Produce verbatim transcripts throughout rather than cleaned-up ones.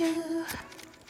you.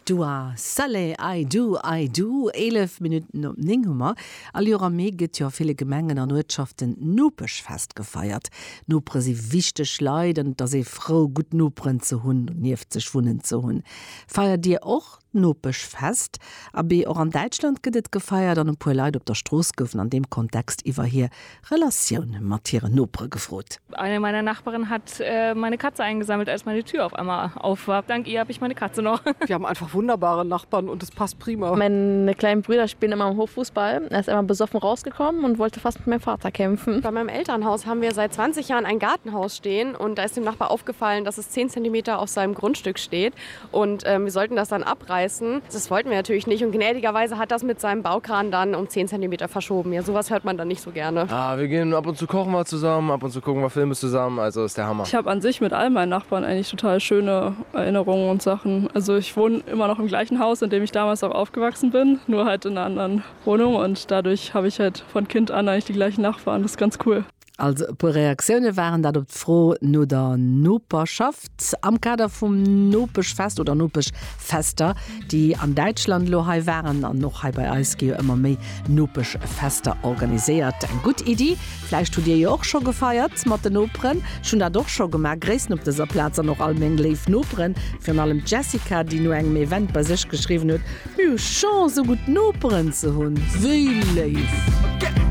Dua Saleh, I do, I do. Eelef Minutten op néng hu mer. All Joer am Mee gëtt jo a ville Gemengen an Uertschaften Nopeschfest gefeiert. Nopere si wichteg Leit an et ass ee frou, gutt Noperen ze hunn, nieft sech wunnen ze hunn. Feiert Dir och Nopeschfest? Abee, och an Däitschland gëtt et gefeiert an e puer Leit op der Strooss goufen an deem Kontext iwwer hir Relatioun mat hiren Nopere gefrot. Eine meiner Nachbarinnen hat äh, meine Katze eingesammelt, als meine Tür auf einmal auf war. Dank ihr habe ich meine Katze noch. Wir haben einfach wunderbare Nachbarn und es passt prima. Meine kleinen Brüder spielen immer im Hof Fußball. Er ist einmal besoffen rausgekommen und wollte fast mit meinem Vater kämpfen. Bei meinem Elternhaus haben wir seit zwanzig Jahren ein Gartenhaus stehen und da ist dem Nachbar aufgefallen, dass es zehn Zentimeter auf seinem Grundstück steht und, ähm, wir sollten das dann abreißen. Das wollten wir natürlich nicht und gnädigerweise hat das mit seinem Baukran dann um zehn Zentimeter verschoben. Ja, sowas hört man dann nicht so gerne. Ah, wir gehen ab und zu kochen wir zusammen, ab und zu gucken wir Filme zusammen, also ist der Hammer. Ich habe an sich mit all meinen Nachbarn eigentlich total schöne Erinnerungen und Sachen. Also ich wohne immer noch im gleichen Haus, in dem ich damals auch aufgewachsen bin, nur halt in einer anderen Wohnung und dadurch habe ich halt von Kind an eigentlich die gleichen Nachbarn. Das ist ganz cool. Also e puer Reaktioune waren dat op d'Fro no der Noperschaft am Kader vum Nopeschfest oder Nopeschfester, déi an Däitschland elo hei waren. An och hei bei eis gi jo ëmmer méi Nopeschfester organiséiert. Eng gutt Iddi. Vläicht hutt Dir jo och scho gefeiert mat den Noperen. Ech hunn dat och scho gemaach. Gréissen op dëser Plaz an och all meng léif Noperen, virun allem d'Jessica, déi no engem Event bei sech geschriwwen huet, Mir hu Chance, esou gutt Noperen ze hunn. Wéi léif!